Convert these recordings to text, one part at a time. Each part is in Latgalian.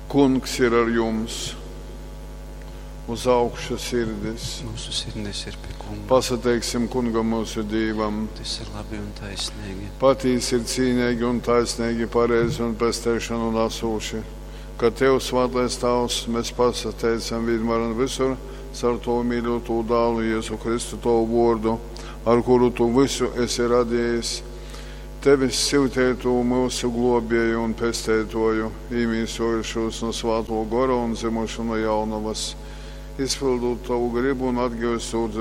Kungs ir ar jums! Uz augšu sirdis! Mūsu sirdis ir pie Kunga. Pasateiksim Kungam mūsu Dīvam! Tas ir labi un taisnīgi. Patīsi ir cīnīgi un taisnīgi, pareizi un pesteišanu nesūši, ka Tev, Svētais Tavs, mēs pasateicam vienmēr un visur caur Tavu mīļoto dālu Jēzu Kristu Tavu vārdu, ar kuru Tu visu esi radījis, Tevis syutētu mūsu globēju un pestētoju, īmīsojušos no Svāto gora un dzimušu no jaunavas, izpildot Tavu gribu un atgūstot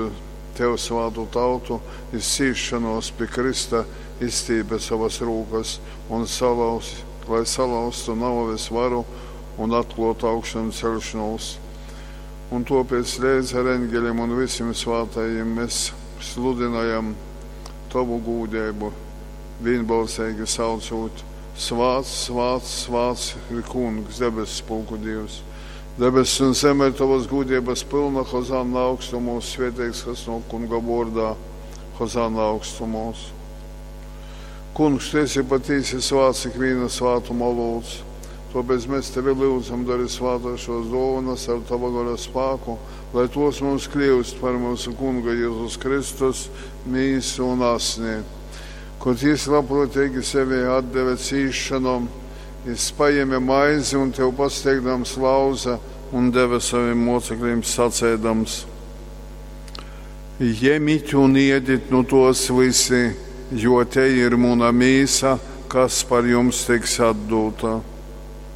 Tev svātu tautu, izcīšanos pie Krista izstīpe savas rūkas un salauz, lai salauztu nāves varu un atklātu augšanu celšanos. Un tāpēc līdz ar eņģeļiem un visiem svātajiem mēs sludinājam Tavu gūdību, vienbalsīgi saucot: Svāts, svāts, svāts ir Kungs, debesu pulku Dievs. Debesis un zeme ir tavas gūdības pilna, Hozanna augstumos, svētīgs, kas no Kunga vārdā, Hozanna augstumos. Kungs, tu esi patīsi svāts ikviena svātuma olūts, tāpēc mēs tevi lūdzam, dari svātā šos dāvanas ar tava gara spēku, lai tos mums kļūst par mūsu Kunga Jēzus Kristus mīsu un asni. Kad jis labprātīgi sevi atdeva cīšanom, jis paņēma maizi un tev pasteigdams lauza un deva saviem mocekļiem sacēdams: Ņemiet un iediet nu tos visi, jo te ir muna mīsa, kas par jums tiks atdota.